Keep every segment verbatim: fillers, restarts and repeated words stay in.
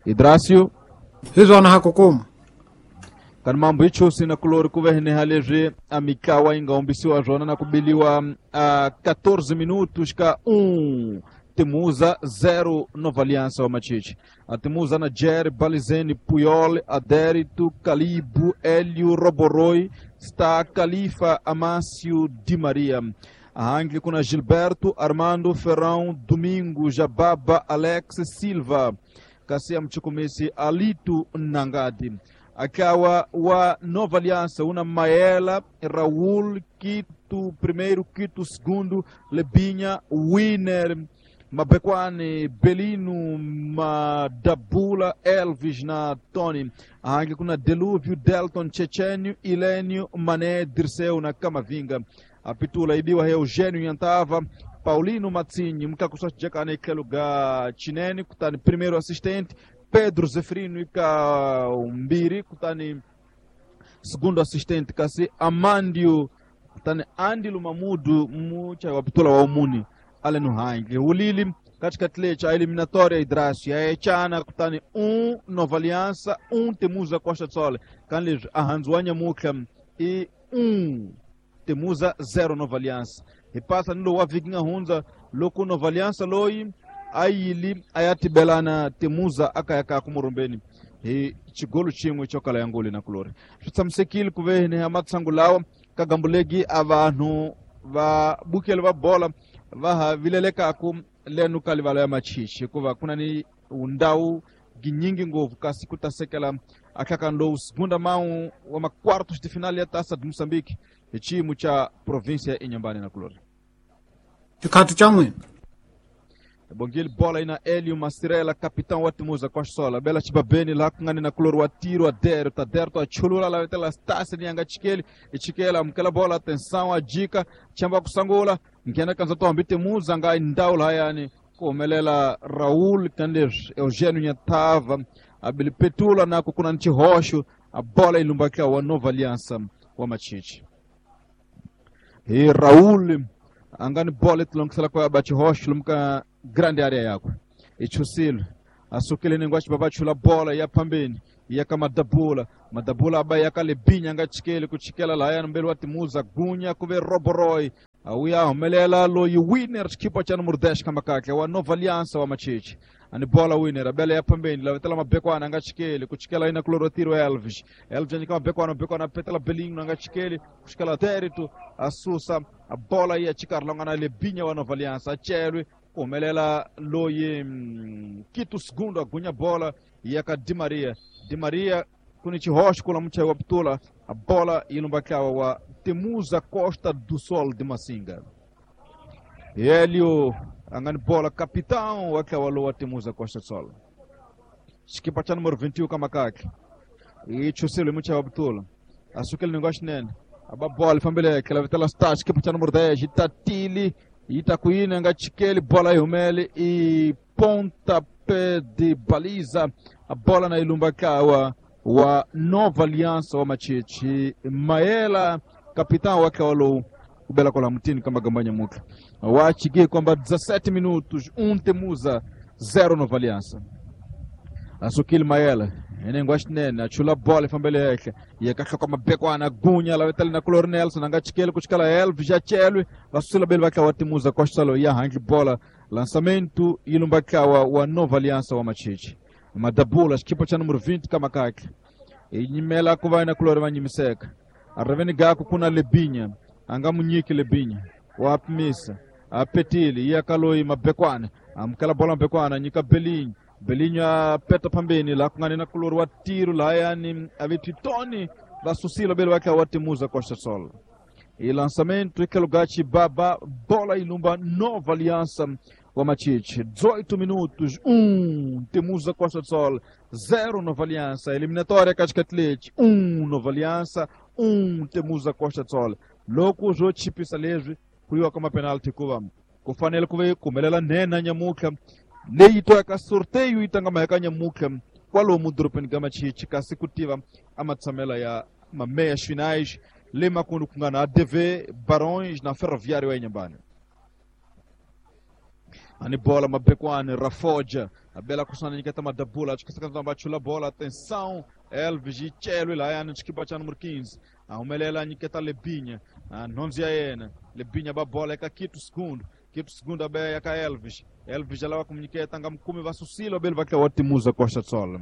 Idrasio Hizwana hakukuma kani mambo ichosi na kulori kuveheneha leswi a mitlawa yi nga hombisiwa swona na kubiliwa a quatorze minutos ka um Temuza zero Nova Aliança wa Machichi. A Temuza na Jerry, Balizene, Puyol, Adérito, Calibo, Hélio, Roboroi, está Califa, Amácio, Di Maria. A Angli com a Gilberto, Armando, Ferrão, Domingo, Jababa, Alex, Silva. Kassia Mchukumisi, Alito, Nangadi. Akawa wa Nova Aliança, una Maela, Raul, Quito primeiro, Quito segundo, Lebinha, Winner, Mabekwane, Belino, Madabula, Elvis na Tony. A kuna Delúvio, Delton, Chechenio, Ilênio, Mané, Dirceu na Camavinga. A Pitula ibiwa Eugênio Yantava, Paulino Matzinho, Mkakuswa Jekane Keluga Chinene, kutani primeiro assistente, Pedro Zeferino ika Umbiri, kutani segundo assistente, kasi Amandio, kutani Andilo Mamudu, mucha wa Pitula wa Umuni. Ale no Hangue. O Lili, katika tlecha, a eliminatória Idrasio, a Echana, kutani um Nova Aliança, um Temuza Costa do Sol. Kanli Ahanzuanya Mukha e um Temuza zero Nova Aliança. E passa no wa Vikinga Hunza, loko Nova Aliança loi, ayili ayati belana Temuza akayaka kumurumbeni. E chigolo chimwe chokala yangoli na kulori. Tsamsekile kuvene amatsangulawa kagambulegi abantu va bukele va bola va vilelekaku lenu kalivala ya machichi kuva kuna ni undau ginyingi ngovu kasi kutasekela akakando segunda mão wa ma quartos de final ya Taça de Moçambique chimu cha província ya Inhambane na kulori. Chikati cha mwini Bongil bola ina Elio Masirela capitão wa Temuza kwa sola bela chibabeni la kungani na kulori wa tiro adero taderto achulula la vetela stasi nyanga chikeli ichikela mkela bola atenção a dica chamba kusangula ngena kanza tombi Temuza nga indaula yani kumelela Raul Kandes Eugênio Nyatava abilipetula na kukuna nchi hosho a bola ilumbakia wa Nova Aliança wa Machichi e Raul angani bola itlongisela kwa bachi hosho lumka grande área yakwe ichusilo asukile ningwachi babachula bola ya pambeni yaka madabula madabula aba yakalebinya ngachikele kuchikela la mbele wa Temuza gunya kuve Roboroi auya homelela loyi winner chikipa cha número dez kamakake wa Nova Aliança wa Machichi ani bola winner abele ya pambeni la vetela mabekwana ngachikele kuchikela ina klorotiro Elvis Elvis anyika mabekwana mabekwana petela Belinho ngachikele kuchikela Terito asusa a bola ya chikarlonga na lebinya wa Nova Aliança achelwe kumelela loyi mm, Quito segundo agunya bola yaka Di Maria Di Maria kuni chihosh kula mcha wa Ptula a bola ilumbakawa wa Temuza Costa do Sol de Massinga. Hélio angani bola capitão wakawa lo wa Temuza Costa do Sol. Chikipa cha número vinte e um kamakake. E chusilo mcha wa Ptula. Asukele ningosh nene. Aba bola fambele kela vitela star chikipa cha número dez itatili itakuina ngachikele bola ihumele e pontapé de baliza a bola na ilumbakawa wa Nova Aliança wa Machichi Maela capitão wake walo kubela kola mutini kama gambanya muka wachige kwamba dezessete minutos um Temuza zero Nova Aliança asukil Maela enengwashi nene achula bola fambele yake yakakha kwa mabekwana gunya la vetali na Color Nelson angachikele kuchikala Elvis jachelwe vasula bele vaka wa Temuza kwa salo ya hangi bola lançamento ilumbakawa wa Nova Aliança wa Machichi madabula chikipa cha número vinte kama kake inyimela kuva ina kulori vanyimiseka areveni gako kuna lebinya anga munyiki lebinya wapimisa apetili yakaloi mabekwana amkala bola mabekwana nyika belinyo belinyo apeta pambeni la kungani na kulori wa tiro la yani avititoni vasusilo bele wake wa Temuza Costa Sol e lançamento ikelugachi baba bola ilumba Nova Aliança wa Machichi dezoito minutos um Temuza Costa do Sol zero Nova Aliança eliminatória Cascatlete um Nova Aliança um Temuza Costa do Sol loko zo chipisa leswi kuyiwa ka mapenalty kuva ku fanele ku ve kumelela nhenha nyamutlha leyi twaka sorteio yi tanga maheka nyamutlha kwalomu dorobeni ka Machichi kasi ku tiva a matshamela ya mameias finais le makundu ku nga na A D V Barões na Ferroviário ya Inhambane. Ani bola mabekwani Rafoja a bela kusana nyiketa madabula achikisaka bachula bola atenção Elvis e Chelo ilayani chikipa cha número quinze a humelela nyiketa Lebinha a nhonzi ya yena Lebinha ba bola eka Kito segundo Kito segundo abe ya ka Elvis Elvis alawa kumnyiketa nga mkumi vasusilo beli vakla watimuza Costa Sol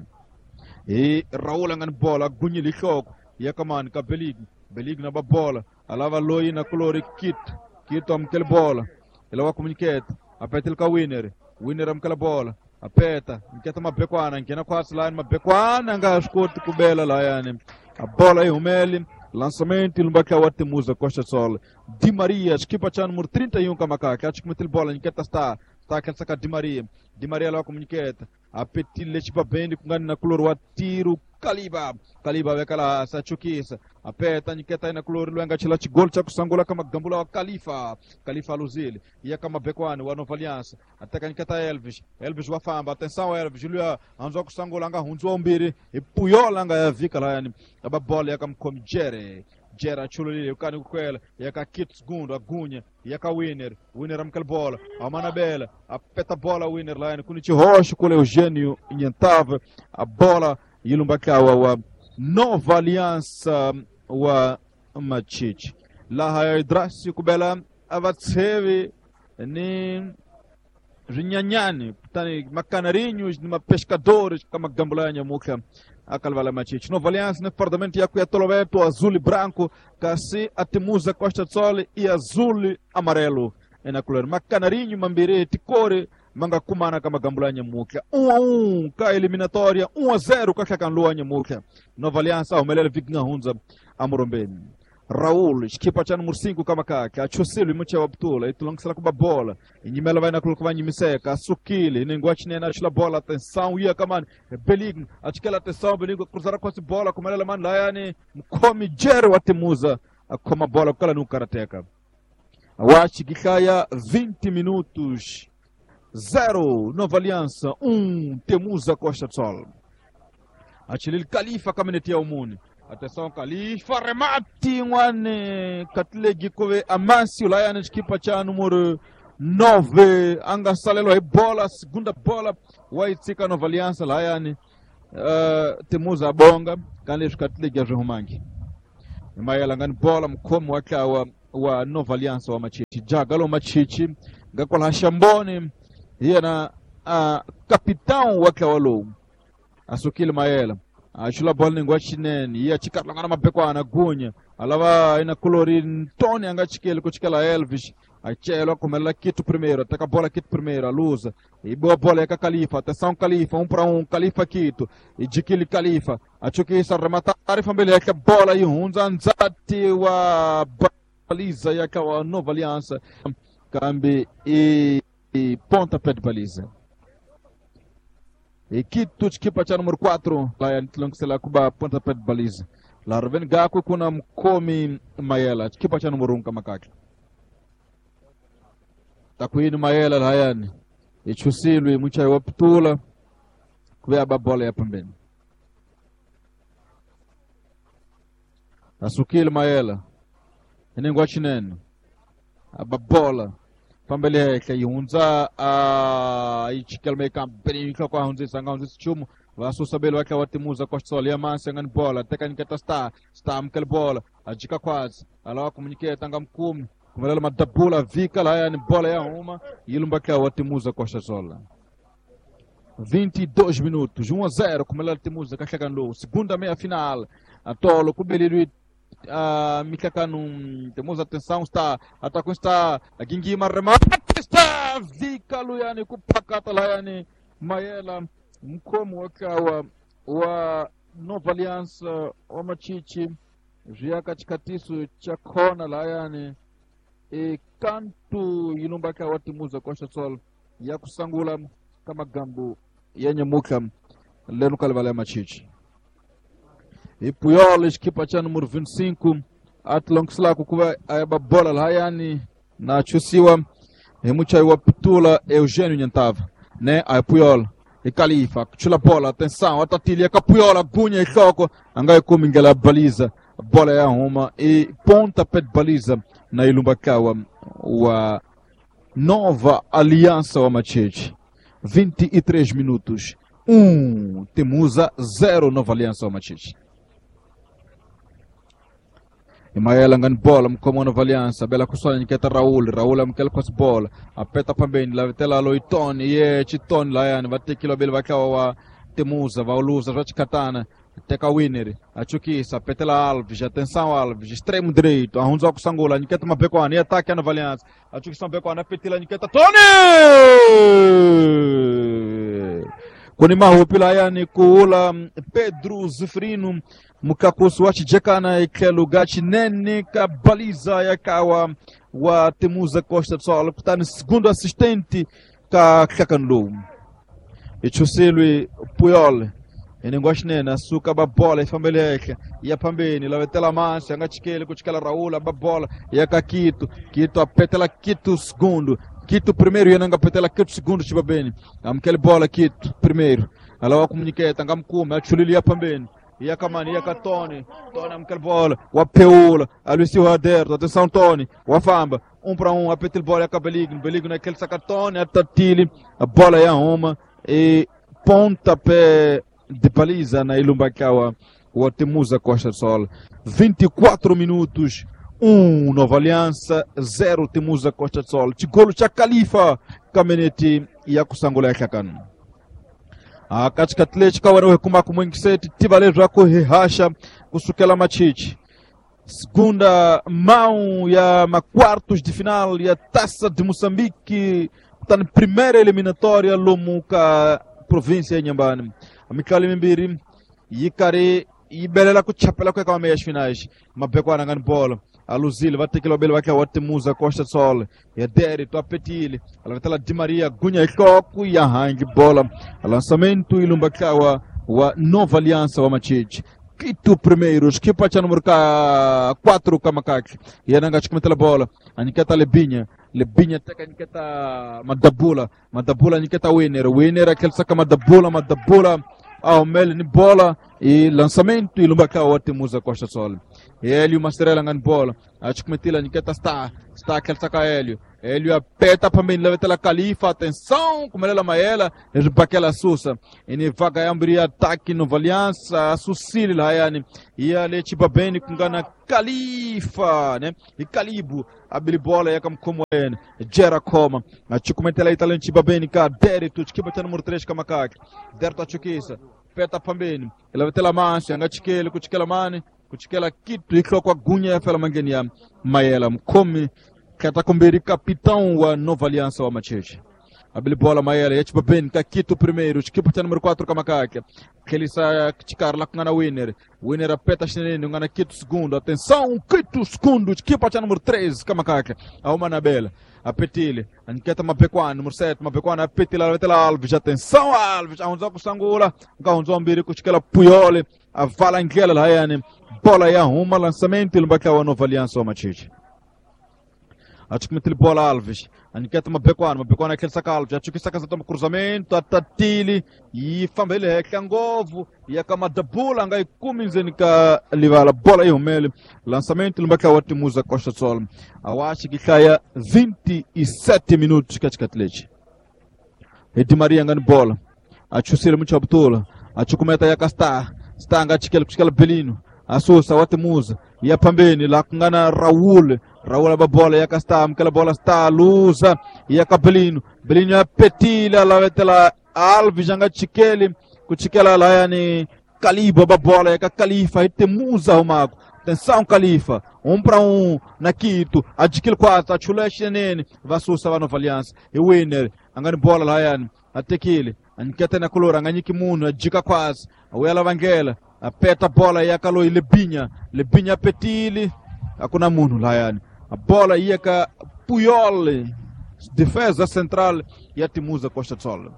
e Raul angani bola gunyile ihloko yakamani ka Belig Belig na ba bola alava loyi na kulori Kito Kito amkele bola ilawa kumnyiketa apetel ka Winner Winner amkela bola apeta nketa mabekwana nkena kwasi layani mabekwana nga swi koti ku bela layani a bola yi humeli lançamento ilumbaka wa Temuza Costa Sol Di Maria xikipa cha número trinta e um kamakaka achikumetil bola nketa star star kensaka Di Maria Di Maria lawa kumunyiketa apetile chipabendi kungani na kulori wa tiro Kaliba Kaliba vekala sachukisa apeta nyiketa ina kulori lwenga chila chigol cha kusangula kama gambula wa Khalifa Khalifa Luzili iya kama bekwani wa Nova Aliança ataka nyiketa Elvis Elvis wafamba atenção Elvis Julia anzo kusangula nga hunzwa umbiri ipuyola nga yavika la yani aba bola yakamkomi Jere Jera achululile ukani kukwela yaka Kit segundo agunya yaka Winner Winner amkal bola amanabela apeta bola Winner la yani kuni chihoxo kule Eugênio Nhantava a bola yilumbakawa wa Nova Aliança wa Machichi laha Idrasi kubela avatsevi ni rinyanyani kutani macanarinhos ni mapescadores kama gambula nyamuka akalvala Machichi Nova Aliança ne fardamento ya kuyatoloveto azul e branco kasi atimuza Costa Sol e azul e amarelo ena color macanarinho mambire ticore manga kumana kama gambula nyamuka um a um ka eliminatória um a zero ka hlakanluwa nyamuka Nova Aliança humelela vigna hunza amorombeni Raul xikipa cha número cinco kama kaka achusilo imucha wa butula itulongisela kuba bola inyimela vai na kuluka vanyimiseka asukile nengwa chinene achila bola atenção iya kamani Beligno achikela atenção Beligno cruzara kwasi bola kumelela mani layani mkhomi Jere wa Temuza akhoma bola kukala ni ukarateka awachi gihlaya vinte minutos zero Nova Aliança um Temuza Costa Sol achilili Khalifa kamenetia ya umuni atenção Khalifa remate ngwane katlegi kove Amancio layani xikipa cha número nove anga salelo hi bola segunda bola waitsika Nova Aliança layani uh, Temuza abonga kanleswi katlegi a swi humangi mayela ngani bola mkhomi wa tlawa wa Nova Aliança wa Machichi jaga lo Machichi nga kwalaha Xamboni hi yena uh, capitão wa tlawa lowu asukile mayela achula bola ningwa chinene iya chikarlangana mabekwana gunya alava ina kulori Ntoni anga chikele kuchikela Elvis achelwa kumelela Kito primeiro ataka bola Kito primeiro aluza e boa bola yaka Khalifa atenção Khalifa um para um Khalifa Kito e jikili Khalifa achukisa rematar fambele yaka bola ihunza nzati wa baliza yaka wa Nova Aliança kambi e, e ponta pé de baliza e Kito chikipa cha número quatro lá ntilongisela kuba ponta pé de baliza la reveni gakwe kuna mkomi Mayela chikipa cha número um kamakaka takwini Mayela lahayani ichusilwe muchai wa putula kuve ba bola ya pembeni asukile Mayela inengwa chinene ababola pambele hehla ihundza a ichikelme kampeni ihloko ahundzisa nga hundzisi nchumu vasusa belo vakla wa Temuza Costa Sol ya mansi angani bola teka nyiketa star star amukela bola ajika khwatsi alawa kumunyiketa nga mkumi kumelela madabula vika lahayani bola ya huma yilumbakla wa Temuza Costa Sol vinte e dois minutos um a zero kumelela Temuza kahlekani lowu segunda meia final atolo kubelelwi Uh, mihlakano temos atenção está atacou está gingima remate está vika luyani kupakata layani Mayela mkhomi wa tlawa wa Nova Aliança wa Machichi zwi chikatiso cha khona layani e kantu yilumbaka wa Temuza Costa Sol ya kusangula kama gambu ya nyamuka leno kalivala ya Machichi e Puyol equipa cha número vinte e cinco atlongiselaka kuva ayaba bola lahayani na chusiwa hi muchayi wa putula Eugênio Nhantava ne a Puyol e Khalifa chula bola atenção atatilia ka Puyol agunya ihloko anga yi kumi ndlela ya baliza bola ya huma e ponta pé de baliza na ilumbakawa wa Nova Aliança wa Matete. vinte e três minutos. um Temuza, zero Nova Aliança wa Matete. Imaela ngani bola mkomo Nova Aliança, bela kusanya niketa Raul, Raul amkela kwa bola, apeta pambeni la vitela Loitoni, ye Chitoni layani vatekilo bele vakawa wa Temuza, vauluza vachikatana. Teka Winner, achukisa, petela Alves, atenção Alves, extremo direito, arrunza kusangula, niketa mabekwana, e ataque a Nova Aliança, achukisa mabekwana, petela niketa Tony! Kuni mahupi layani kuula Pedro Zifrino, mukakusu wachijekana ikelu gachi nene kabaliza yakawa wa Temuza Costa do Sol, kutani segundo assistente ka Kakanlu. Ichusilwi Puyol. Enengwashinene asuka babola ifambeleke ya pambeni lavetela mansi angachikele kuchikela Raul babola ya kakito Kito apetela Kito segundo Kito primeiro yenanga petela Kito segundo chibabeni amkele bola Kito primeiro alawa komuniketa ngamkume achulili ya pambeni ya kamani ya katone Tony amkele bola wapeula alusi Aderto atenção Tony wafamba um para um apetel bola ya kabeligno Beligno naquele sacatone atatili a bola ya uma e pontapé de baliza na Ilumbakawa o Temuza Costa do Sol. vinte e quatro minutos, um Nova Aliança, zero Temuza Costa do Sol. Chigolo cha Khalifa Kameneti ya kusangula yakakanu. A katika Atlético wanawe kumaku mwingi seti tibalezwa kuhihasha kusukela machichi. Segunda mão ya quartos de final ya Taça de Moçambique, tá na primeira eliminatória lomuka província ya Inhambane. Amikali mimbiri yikari ibelela kuchapela kwa kama meias finais mabekwana ngani bola aluzile vatekela bele vake wa Temuza Costa do Sol ya Deri to apetile alavetela Di Maria gunya ikoku ya hangi bola lançamento ilumbakawa wa Nova Aliança wa Matete. Quito primeiro, equipa cha número quatro kamakaki yananga chikumetela bola aniketa Lebinha Lebinha teka aniketa Madabula Madabula aniketa Winner Winner aquele saca Madabula Madabula ao mel ni bola e lançamento e lumbaka wa Temuza Costa Sol. Hélio Mastrela ngani bola achikumetela aniketa Star Star aquele saca Hélio Hélio apeta pambeni levetela Khalifa atenção kumelela maela ribakela susa ini vaga yambri ataque Nova Aliança susili layani ia lechi babeni kungana Khalifa né e Calibo abili bola yakamkomo ene Gera Koma achikumetela italenti babeni ka Derito chikipa cha número três kamakaki Derito achukisa peta pambeni levetela mansi angachikele kuchikela mani kuchikela kitu iklo kwa gunya ya fela mangeni ya mayela mkomi Katakumbiri capitão wa Nova Aliança wa Matete. Abili bola mayela yachipa ben kakito primeiro, chikipa cha número quatro kamakake. Kelisa chikarla kungana Winner. Winner apeta chinene ngana Kito segundo. Atenção, Kito segundo, chikipa cha número três kamakake. Auma na bela. Apetile, aniketa mabekwana número sete, mabekwana apetile avetela Alves. Atenção Alves, aunza kusangula, ngaunza mbiri kuchikela Puyole, avala ngela layani. Bola ya uma lançamento ilumbaka wa Nova Aliança wa Matete. Achukumetele bola Alves, aniketa mabekwana, mabekwana aquele saca Alves, achuki saca toma cruzamento, atatili, e fambele rekangovu, e akamadabula ngai kuminzeni ka livala bola ihumele, lançamento lumbaka wa Temuza Costa do Sol. Awashi kikaya vinte e sete minutos katikati leche. Edi Maria ngani bola, achusile muito abtula, achukumeta yakasta, stanga achikele kuchikela Belino. Asusa wa Temuza ya pambeni la kungana Raul Raul ababola ya kasta mkela bola sta luza ya Kabelino Belino ya petila la vetela Alves anga chikeli kuchikela la yani Kalibo ababola ya Khalifa Temuza umako atenção Khalifa um para um na Quito adquil quatro achuleshe nene vasusa wa Nova Aliança e Winner angani bola la yani atekile aniketa na kolora anganyiki munu ajika quase awela vangela apeta bola yakalo Lebinha Lebinha petili hakuna munhu layani a bola yaka Puyol defesa central ya Temuza Costa do Sol.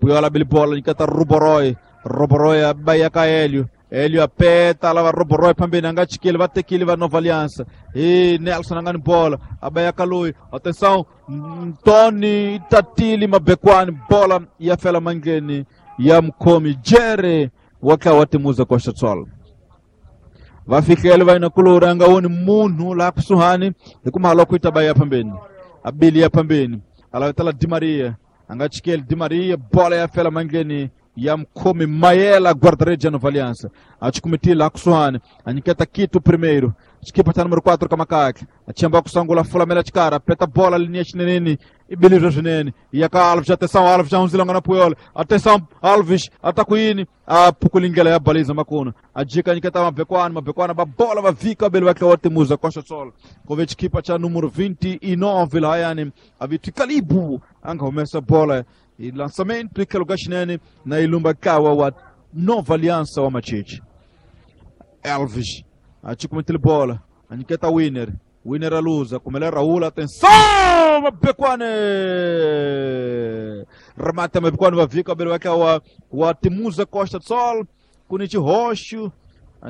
Puyol abili bola nikata Ruboroi Ruboroi abayaka Hélio Hélio apeta lava Ruboroi pambeni angachikile vatekile va Nova Aliança e Nelson angani bola abayaka Lui atenção Tony Tatili mabekwani bola ya fela mangeni ya mkomi Jere waka wa Temuza Costa do Sol. Vafikele vai na kulura anga woni munhu la kusuhani ikumalo kuita baya pambeni. A beli ya pambeni alavetela Di Maria a nga chikeli Di Maria bola ya fela mandleni ya mkhomi Mayela guarda-redes ya Nova Aliança a chikumitile akusuhani a nyiketa Quito primeiro xikipa xa número quatro kamakakhe a chemba kusangula fulamela xikara peta bola linia xineneni i bilizwe swinene ya ka Alves atenção Alves já hundzile nga na Puyol atenção Alves ataku yini a phukulingela ya baliza makuna a jika nyiketa mabekwana mabekwana ba bola va vika beli va tlewa timuza Costa Sol kove xikipa xa número vinte e nove lahayani a vithi Kalibu a nga humesa bola i lançamento i tlhelo ka xinene na ilumba kawa wa Nova Aliança wa Machichi Elvis a chikumitile bola a nyiketa Winner Winner aluza kumele Raul atenção mabekwane remata mabekwane va vika beli va wa wa Timuza Costa do Sol kuni xihoxo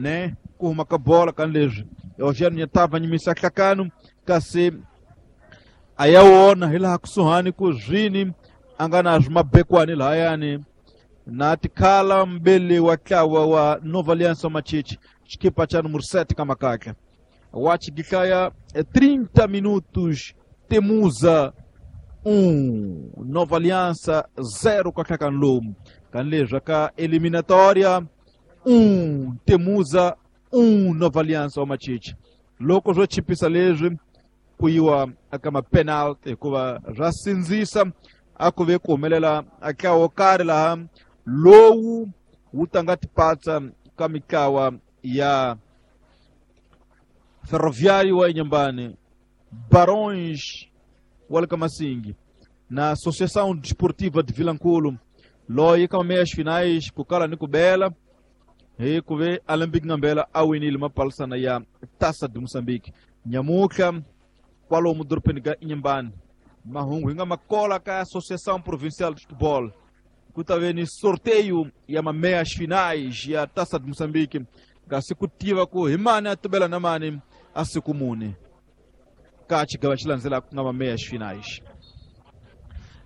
né ku huma ka bola kan leswi Eugênio Nyatava nyimisa hlakano kasi a ya wona hi laha kusuhani ku zwini a nga na mabekwane lahayani na tikhala mbele wa tlawa wa Nova Aliança Machichi xikipa xa número sete kamakakha wa xigihlaya trinta minutos Temuza um Nova Aliança zero kahlakani lomu kan leswi ka eliminatória um Temuza um Nova Aliança wa Machichi loko swo chipisa leswi ku yiwa aka mapenalty hikuva swa sindzisa a ku ve ku humelela a ntlawa wo karhi laha lowu wu tanga tipatsa ka mitlawa ya Ferroviário wa Inhambane, Barões wa le ka Masingi na Associação Desportiva de Vilankulo loyi ka meias finais ku kala ni ku bela hi ku ve Alembic Ngambela a winile mapalisana ya Taça de Moçambique nyamutlha kwalomu dorobeni ka Inhambane mahungu hi nga makola ka Associação Provincial de Futebol ku ta ve ni sorteio ya mameias finais ya Taça de Moçambique kasi ku tiva ku hi mani a tuvela na mani a siku mune ka xigava xi landzelaka ku nga mameias finais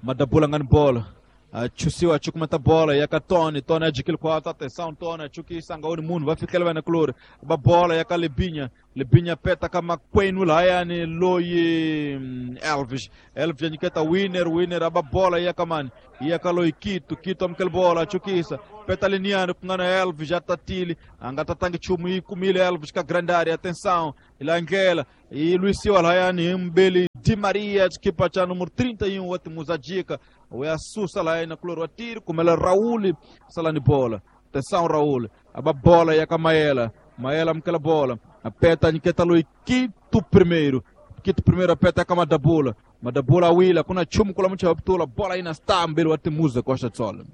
madabula nga ni bola a chusiwa a chukumeta bola ya ka Tony Tony a jikile khwatsa atenção Tony a chukisa nga woni munhu va fikela vana kulori ba bola ya ka Lebinya Lebinya peta ka makwenu lahayani loyi Elvis Elvis a nyiketa Winner Winner a ba bola ya ka mani ya ka loyi Quito Quito amukela bola a chukisa peta liniani ku nga na Elvis a tatile a nga tatangi nchumu yi kumile Elvis ka grande área atenção ila ndlela yi lwisiwa lahayani hi mbeli Di Maria xikipa xa número trinta e um wa Timuza jika wa susa lahayani kulori wa tiri kumela Raul salani bola atenção Raul a ba bola ya ka Maela Maela amukela bola apeta nyiketa loyi Quito primeiro Quito primeiro apeta ka Madabula Madabula wila kuna chumu kula mucha putula bola ina stambeli wa Timuza Costa Sol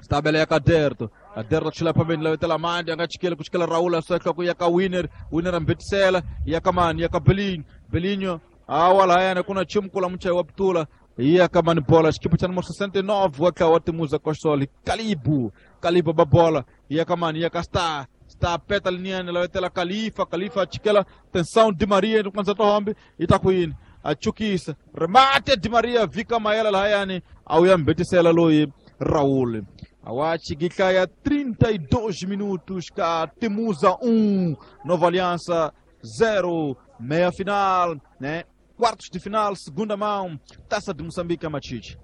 stabele ya ka Derto Aderto chila pambeni lawetela mandi anga chikela kuchikela Raul asweka ku ya ka Winner Winner ambetisela ya ka mani ya ka Belinho Belinho awa lahayana kuna chumu kula mucha wa putula ya ka mani bola xikipa xa número sessenta e nove wa ka wa Timuza Costa Sol Kalibu Kalibu ba bola ya ka mani ya ka Star Star peta liniani lawetela Khalifa Khalifa chikela tensão Di Maria kwanza tohombe itakwini achukisa remate Di Maria vika Mayela lahayani au yambetisela loyi Raul Awachi giklaya trinta e dois minutos ka Temuza um Nova Aliança zero meia final, né? Quartos de final, segunda mão, Taça de Moçambique a Machichi.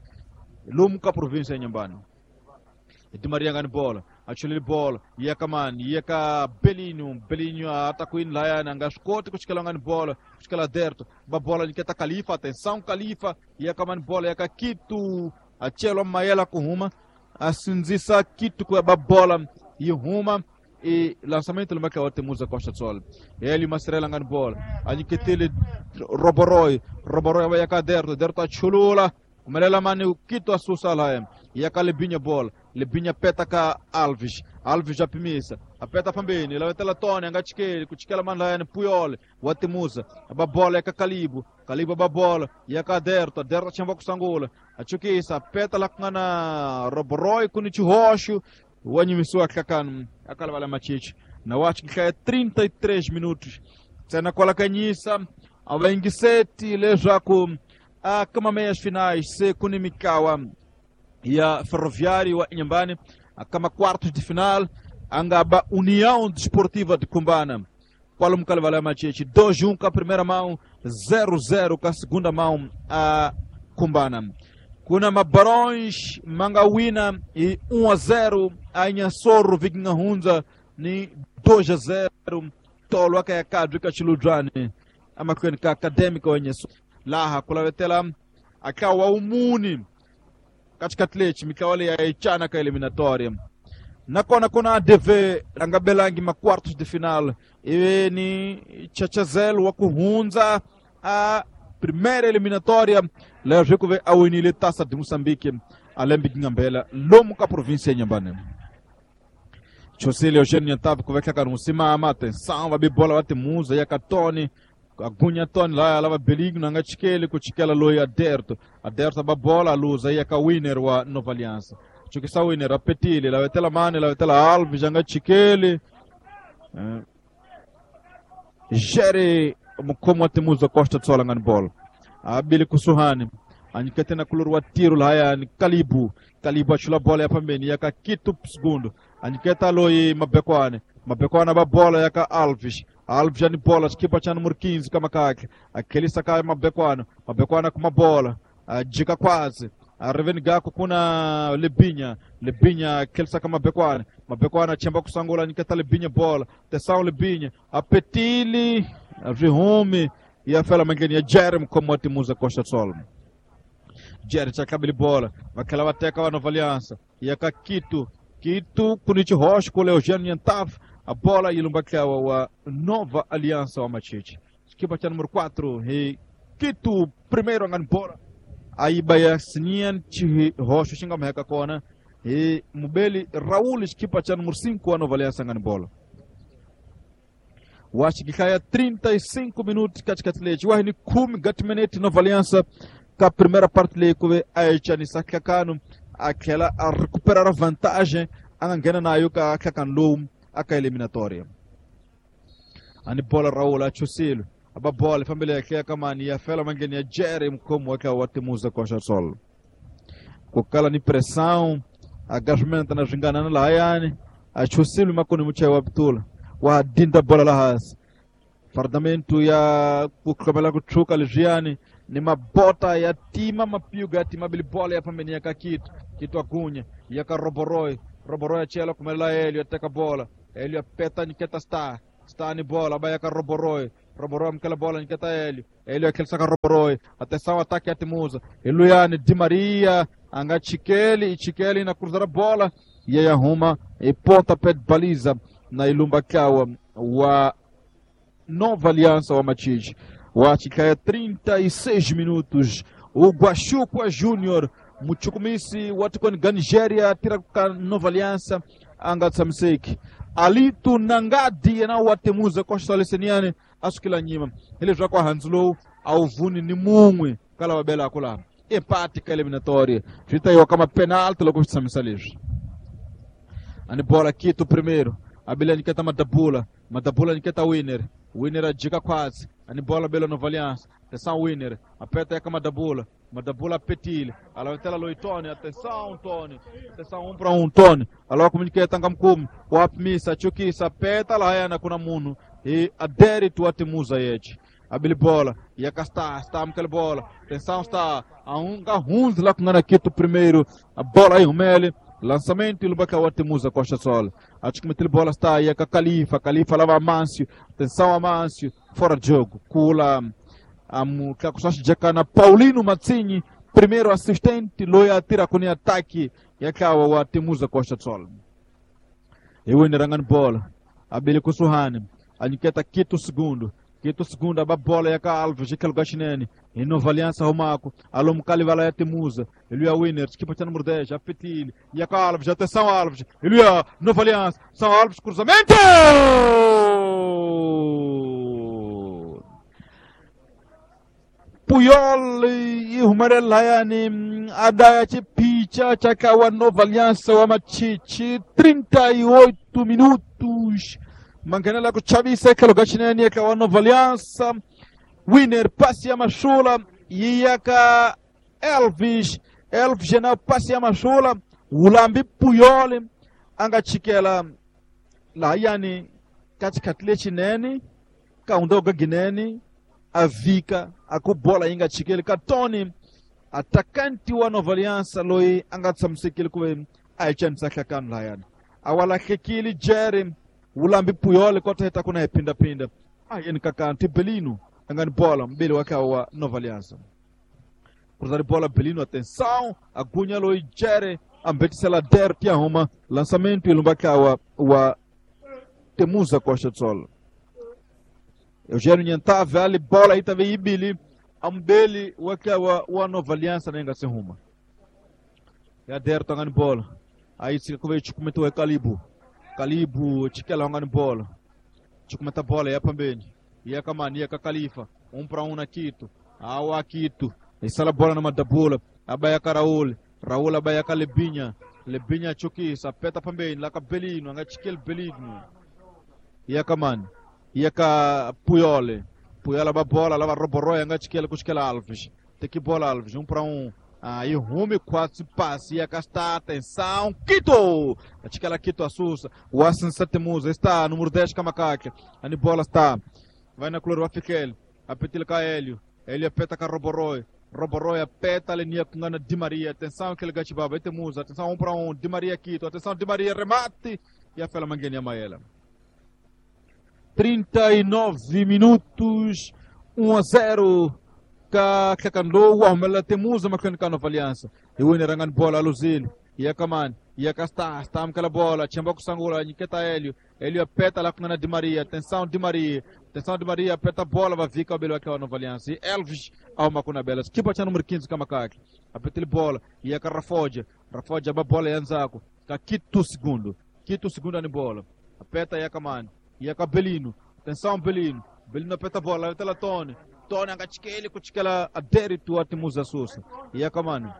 Lumo ka província ya Inhambane. Di Maria ngani bola, achulile bola, ia ka mani, ia ka Belinho, Belinho atakuini layana nga swi ku chikela ngani bola, ku chikela Derto, ba bola nyiketa Khalifa, atenção Khalifa, ia ka mani bola, ia ka Quito, achelwa Mayela ku huma, a sindzisa Quito ku ba bola yi huma e lançamento lumaka wa Temuza Costa Sol. Ele Mastrela ngani bola, a nyiketile Roboroi, Roboroi ya ka Derto, Derto achulula, kumelela mani Quito asusa laya, ia ka Lebinha bola, Lebinha peta ka Alves, Alves apimisa, apeta pambeni, lawetela Tony anga chikeli, kuchikela mani laya ni Puyol, wa Temuza, aba bola ya ka Kalibu, Kalibu aba bola, ya ka Derto, Derto chamba kusangula, achukisa, apeta la kungana Roboroi kuni chihoxo, wanyimisiwa hlakano akalavala Machichi na wachi trinta e três minutos tsena kwala kanyisa avaingiseti leswaku a kama meias finais se kuni mikawa ya Ferroviário wa Inhambane a kama quartos de final angaba União Desportiva de Cumbana Kwalomu ka livala ya Machechi dois um ka primeira mão, zero zero ka segunda mão a Kumbana. Kuna Mabarões manga wina e um a zero a Inhassoro Vikinga Hunza ni dois a zero tolo aka ya kadri ka Chiludrani amakwenu ka Acadêmica wa Inhassoro. Laha kulavetela akawa umuni katikati lechi mikawale ya ichana ka eliminatória. Nakona kuna A D V angabelangi ma quartos de final iwe ni Chachazel wa kuhunza a primeira eliminatória leo jikuve awinile taça de Moçambique alembi ngambela lomu ka província ya Inhambane. Chosile Eugênio Nhantave kuveka karusimama atenção va bibola va timuza ya katoni agunya toni la lava beligno anga chikele kuchikela loyi aderto aderto ba bola luza ya ka winner wa Nova Aliança. Chukisa winner apetile la vetela mane la vetela Alves anga chikele eh. Jere mukomo wa timuza Costa tsola ngani bola abili kusuhani anyikete na kuluru wa tiro la haya ni Kalibu Kalibu achula bola ya pambeni yaka Kitu segundo anyiketa loyi mabekwane mabekwane ba bola yaka Alves Alves ani bola skipa cha número quinze kama kake akelisa kaya mabekwana mabekwana kuma bola ajika kwazi Areveni gako kuna Lebinya Lebinya akelisa kama mabekwana mabekwana chemba kusangula anyiketa Lebinya bola tesão Lebinya apetili Rihumi ya fela mangeni ya Jeremy como timuza Costa Sol Jerry chakabili bola vakela vateka wa Nova Aliança yaka Kitu Kitu kunichi Rocha com Eugênio Nhantave a bola ilumbakewa wa Nova Aliança wa Machichi equipa cha número quatro e Kitu primeiro angani bola aiba ya Sinian Chi Rocha xinga mheka kona e Mubeli Raul equipa cha número cinco wa Nova Aliança angani bola washikikaya trinta e cinco minutos katikati lechi wahini kumi gatimeneti Nova Aliança ka primeira parte leikuve aichanisa kakano aquela a recuperar a vantagem angena nayo ka kakanlum aka eliminatória ani bola Raul achusilo aba bola família yake kamani ya fela mangeni ya Jerry mkomo wake wa timuza Costa Sol kokala ni pressão agajmenta na jingana la hayani achusilo makoni muchewa bitula wa dinda bola la hasi fardamento ya kukamela kuchuka lijiani ni mabota ya tima mapiuga ya tima bilibola ya pambeni ya kakitu kitu agunya ya karoboroi roboroi achela kumela Elio ateka bola Elio apeta niketa star star ni bola ba ya karoboroi roboroi mkela bola niketa Elio Elio akelsa karoboroi atenção ataque ya timuza Eluyani Di Maria anga chikeli chikeli na cruzar bola ya yahuma e ponta pé de baliza na ilumba kawa wa Nova Aliança wa Machichi wachikaya trinta e seis minutos o Guaxuqua Júnior muchukumisi watikoni ga Nigéria tira ka Nova Aliança anga tsamseki Alito Nangadi na watemuza Costa Leseniane asukila nyima ele já com a Hanslow ao vuni ni munwe kala wabela kula empate ka eliminatória trinta e kama penalti logo tsamsalish ani bola Quito primeiro a Bilha niketa Madabula Madabula niketa winner winner ajika quase ani bola bela Nova Aliança atenção winner aperta aí com Madabula Madabula petile alavetela loi Tony atenção Tony atenção um para um Tony aloka kumniketa ngamkumi wapmisa chukisa aperta lá yana kuna munu e adere tu atimuza yechi abili bola yakasta está mkele bola atenção está a um garrunz lá com Quito primeiro a bola aí rumele lançamento e lubaka watimuza Costa Sol acho que meteu bola está aí a Califa Califa lava Amâncio atenção Amâncio fora de jogo kula amu kakusashi jakana Paulino Mazzini primeiro assistente loya atira kuni ataque yakawa watimuza Costa Sol e winner bola abele kusuhani aniketa Quito segundo Quito segundo aba bola yaka Alves jikalo gashinene e Nova Aliança Romako alô mukali vala ya Temuza ele é winner equipa cha número dez apetile yaka Alves atenção Alves ele é Nova Aliança São Alves cruzamento Puyol e Rumarela yani adaya chipicha chakawa Nova Aliança wa Machichi trinta e oito minutos manganela kuchavisa kalo gashinene yaka Nova Aliança winner passe ya mashula yaka Elvis Elvis jena passe ya mashula ulambi Puyol anga chikela la yani katikati lechinene Ka hundza Ginene a vika a ku bola yi nga chikeli ka Tony attacanti wa Nova Aliança loyi a nga tshamisekile ku ve a hi chanisa hlakano lahayana a wa lahlekile Jerry wulambi Puyol kota heta ku na hi phindaphinda a yeni ka kanti Belino a nga ni bola mbili wa kha wa Nova Aliança cruzar bola Belino, atenção a gunya loyi Jerry ambetisela der tia huma lançamento ilumba wa wa Temuza Costa do Sol. Eugênio Nhantave ali bola aí também ibili ambele wa wa Nova Aliança nenga se ruma. Ya der tangani bola. Aí se como comentou é Calibo. Calibo tikela ngani bola. Chikumeta bola ya pambeni. Ya kamani ya Califa, um para um na Quito. Awa Quito. Isala bola na Madabula, abaya Karaul, Raul abaya Kalebinha, Lebinha chukisa, peta pambeni, la Belino, anga chikel Belino. Ya kamani. Ya ka Puyole. Puyole ba bola, lava Roboroy, anga chikel kuchikela Alves. Tem bola Alves, um para um. Aí rume quatro passe, ia castar, atenção, Quito! A Quito assusta, o Assan Satemusa está, número dez Camacaca, a bola está, vai na cloro, Afikel, a petilca Hélio, Hélio apeta com Roboroi, Roboroi apeta a linha com Ana Di Maria, atenção aquele gatibaba, Temusa, atenção um para um, Di Maria Quito, atenção Di Maria, remate, e a Fela Manguinha Maela. trinta e nove minutos, um a zero. Kakando wa Temuza makwena ka Nova Aliança. E o Inerangan bola Luzil, ia Kaman, ia Casta, está aquela bola, Chamba Sangula, Niqueta Hélio, Hélio apeta lá com Ana Di Maria, atenção Di Maria, atenção Di Maria, apeta a bola, vai ficar o Belo aquela Nova Aliança. E Elvis ao Macuna Bela, equipa tinha número quinze Kamakaki, apeta ele bola, ia com Rafodia, Rafodia a bola Yanzaco, Quito segundo, Quito segundo na bola, apeta ia Kaman, ia com Belino, atenção Belino, Belino apeta a bola, apeta lá Tony. Tony angachikele kuchikela aderitu atimuza susa yaka mano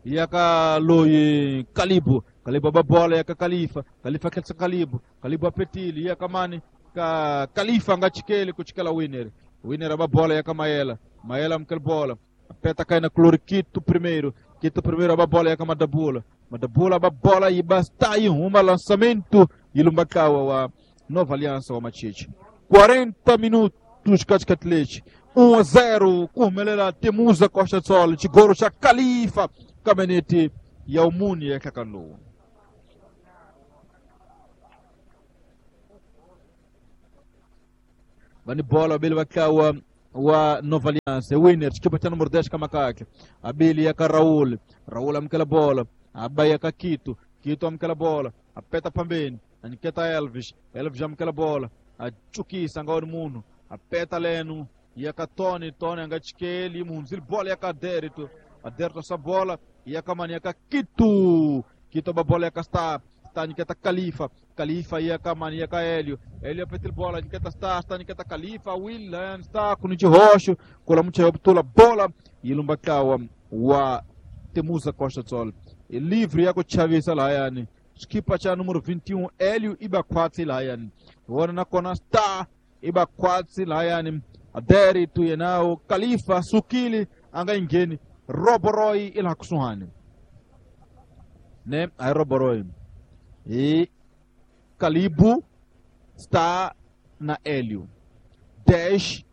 yaka loyi Kalibu Kalibu babola yaka Khalifa Khalifa kelsa Kalibu Kalibu apetili yaka mani ka Khalifa angachikele kuchikela winner winner babola yaka Maela Maela mkel bola apeta kaina Cloriquito primeiro Quito primeiro babola yaka Madabula Madabula babola e basta e uma lançamento e lumbakawa wa Nova Aliança wa Machiche quarenta minutos dos Caticatletes, um a zero, Curmelela, Temuza, Costa do Sol, Tigoro, Califa, Caminete e Almuni é Cacanu. Vani bola, Abel Bacawa, wa Nova Aliança, Winner, equipa tinha número dez, Camacaque, Abel e Raul, Raul amquela bola, Abaia Quito, Quito amquela bola, Apeta Pambeni, Aniqueta Elvis, Elvis amquela bola, a Chuki, Sangor Muno. Apeta Leno, ia Tony, Tony angachikeli, Munzil, bola ia Adérito, Adérito essa bola, ia Kamani, ia Quito, Quito a bola ia está, está Niqueta Califa, Califa ia Kamani, ia Hélio, Hélio apetil bola, Niqueta está, está Niqueta Califa, William está, com o Rocho, cola muito obtula bola, e Lumbakawa, wa Temuza Costa do Sol, e livre ia com Chaves Alaiane, equipa cha número vinte e um, Hélio Ibaquatsi Laiane, agora na kona está, iba kwatsi layani aderi tuyenao Khalifa sukili anga ingeni Roboroi ila kusuhani ne ai Roboroi e Kalibu está na Hélio dez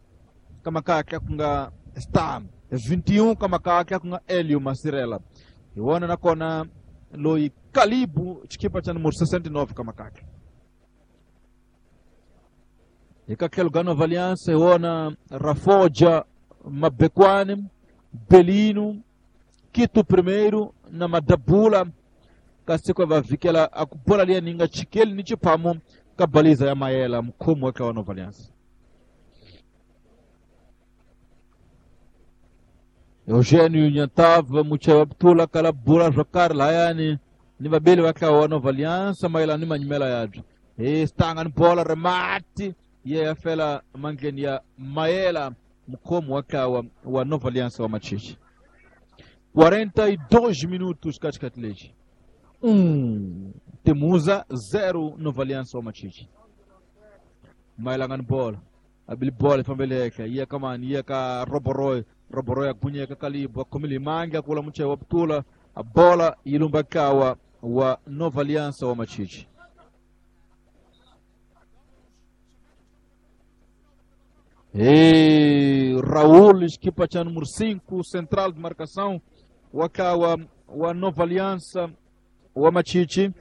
kamakaka kunga está vinte e um kamakaka kunga Hélio Masirela e wana na kona loi Kalibu chikipa cha número sessenta e nove kamakaka Ikakel Nova Aliança, Iona, Rafoja, Mabekwane, Belino, Quito primeiro, na Madabula, Kasiko vavikela, akubola lia ninga chikeli nichipamo, kabaliza ya Maela, mkomo wake wa Nova Aliança. Eugênio Nhantava, Muchawabtula, Kalabula, Jokar, Layani, Nibabeli wake wa Nova Aliança, Maela ni manyimela yadu. Estanga bola, remate, e a fela mangenia Maela mkomo wakawa wa Nova Aliança wa Machiche. quarenta e dois minutos Caticatleche. um Temuza, zero Nova Aliança wa Machiche. Maela ngani bola. Abili bola fambeleka, ia kamani, ia ka Roboroi, Roboroi agunya ka Kalibu, akomili manga kula mche wa ptula, a bola ilumbakawa wa Nova Aliança wa Machiche. E Raul, equipa cha número cinco, central de marcação, wakawa wa Nova Aliança wa Machichi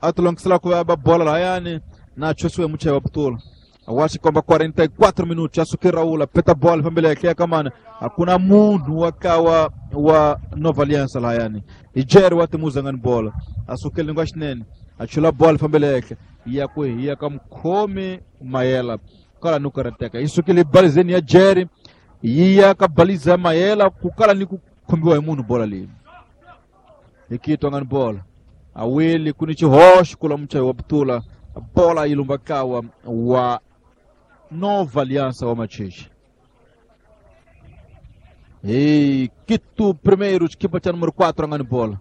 atulongisela kuva bola layani na chosiwe muchai wa putula awachi kwamba quarenta e quatro minutos asuki Raul apeta bola pambele yake kamana hakuna munhu wakawa wa Nova Aliança layani ijeri watimuza ngani bola asukeli ngwa xinene achula bola pambele yake ya kuhiya ka mkhomi mayela kala nukarateka isukile balizeni ya Jerry yiya ka baliza mayela kukala ni kukhombiwa hi munhu bola leyi ikitwa ngani bola awili kuni chihoxo kula muchayi wa putula bola yilumba kawa wa Nova Aliança wa Machichi. E Quito primeiro, equipa cha número quatro ngani bola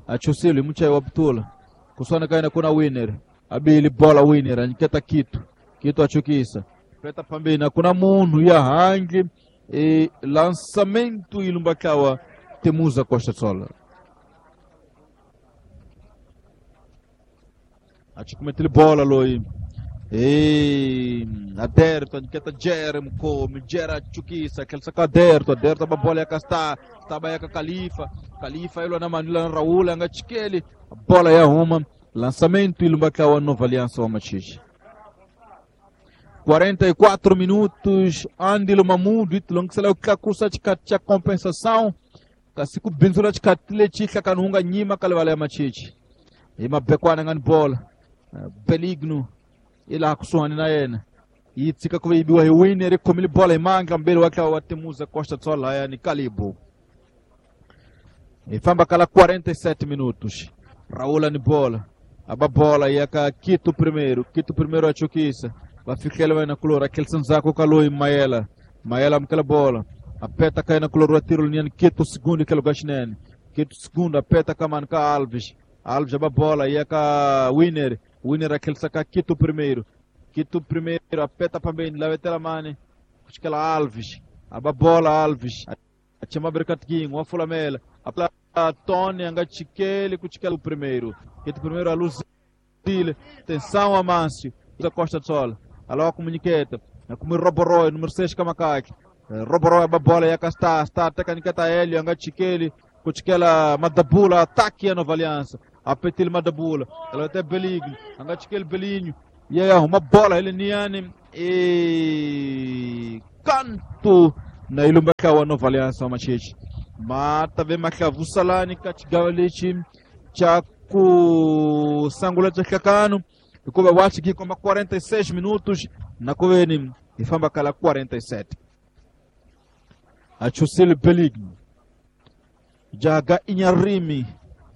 achusile muchayi wa putula kusana kaina kuna winner abili bola winner aniketa Quito Quito achukisa peta pambeni kuna munhu ya hangi e lançamento ilumba kawa Temuza Costa Sola achikumetele bola loi e aderto aniketa Jeremy come Jera achukisa kelsa ka aderto aderto ba bola ya kasta taba ya Khalifa Khalifa ilo na Manila Raul anga chikeli bola ya huma lançamento ilumba kawa Nova Aliança wa Machichi. quarenta e quatro minutos andilo mamudu itilongisela ukakusa chikati cha compensação kasi kubinzula chikati lechihla kanhunga nyima kalevala ya Machichi imabekwana ngani bola Beligno ila kusuhani na yena yitsika kuve ibiwa hi winner ikhomile bola imanga mbele wakhe wa Temuza Costa Tsola yani Kalibu ifamba kala quarenta e sete minutos Raul ni bola aba bola yaka Quito primeiro Quito primeiro achukisa vafikela vai na color aquele sanzako kaloi Mayela Mayela mkela bola apeta kai na color tiro nian Quito segundo que lugar chinene Quito segundo apeta kaman ka Alves Alves aba bola yaka winner winner aquele saca Quito primeiro Quito primeiro apeta pambeni lá vetela mane kuchikela Alves aba bola Alves achama berkatginho wa fulamela apla Tony anga chikele kuchikela o primeiro Quito primeiro a luz tensão Amâncio da Costa do Sol alô comuniqueta como Roboroi número seis Kamakaki Roboroi a bola ya kasta está tekaniketa Hélio anga chikele kuchikela Madabula ataque a Nova Aliança apetil Madabula ela até Beligno anga chikele Belinho e aí arruma bola ele niane e canto na ilumba wa Nova Aliança Machichi mata ve makavusalani kachigawa lechi cha kusangula cha kakano hikuva wachi koma quarenta e seis minutos na kuveni ifamba kala quarenta e sete achusile Beligno jaga inyarimi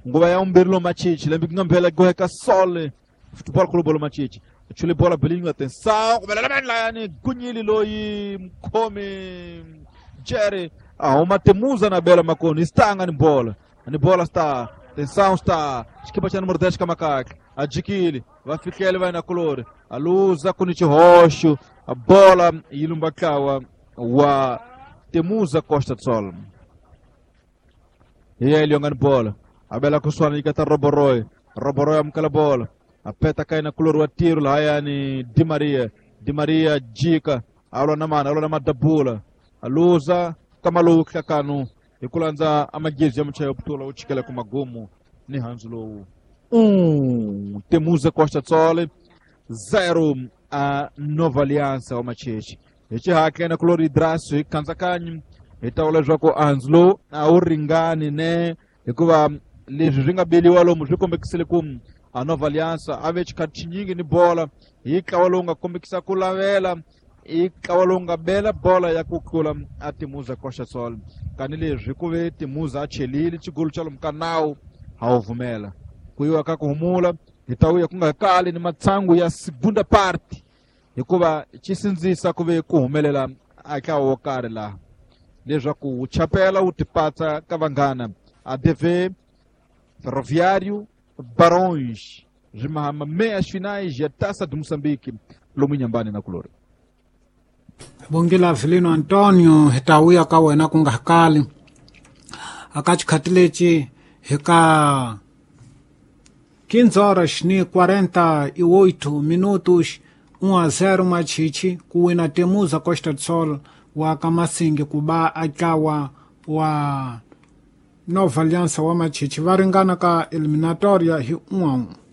nguva ya umbirilo Machichi lembi ngambela goheka sole Futebol Clube lo Machichi achule bola Beligno atenção yani gunyili loyi mkhomi Jerry ahuma Temuza na bela makoni está ni bola ni bola está atenção está equipa cha número dez Kamakaki adquire vai ficar ele vai na color a luz a Kunichi Rocho a bola ilumbakawa wa Temuza Costa do Sol e ele jogando bola a bela kuswana ikata Roboroi Roboroi amkala bola apeta kai na color wa tiro lá yani Di Maria Di Maria jika alwa na mana alwa na madabula a luza kamaluka kanu ikulanza amagezi ya mchayo putula uchikela kumagumu ni hanzulo um Temuza Costa Tsole zero a Nova Aliança wa Machichi ichi hake na kulori drasu ikanza kanyi itaola zvako anzlo auringani ne hikuva leswi swi nga beliwa lomu swi kombekisile ku a Nova Aliança ave xikhathi xinyingi ni bola hi ntlawa lowu nga kombekisa ku lavela i ntlawa lowu nga bela bola ya ku tlula a Temuza Costa Sol kani leswi ku ve Temuza a chelile xigolo xa lomu ka nawu a wu vumela ku yiwa ka ku humula hi ta vuya ku nga kali ni matsangu ya segunda parte hikuva xi sindzisa ku ve ku humelela eka wo karhi laha leswaku wu chapela wu tipatsa ka vanghana A D V Ferroviário Barões rimahama meias finais ya Taça de Moçambique lomu nyambani na kulori Bongela Avelino Antonio hi ta vuya ka wena ku nga kali aka xikhathi lexi hi ka quinze horas ni quarenta e oito minutos um a zero Machichi ku wina Temuza Costa do Sol wa Kamasingi ku ba a ntlawa wa Nova Aliança wa Machichi va ringana ka eliminatoria hi um a um.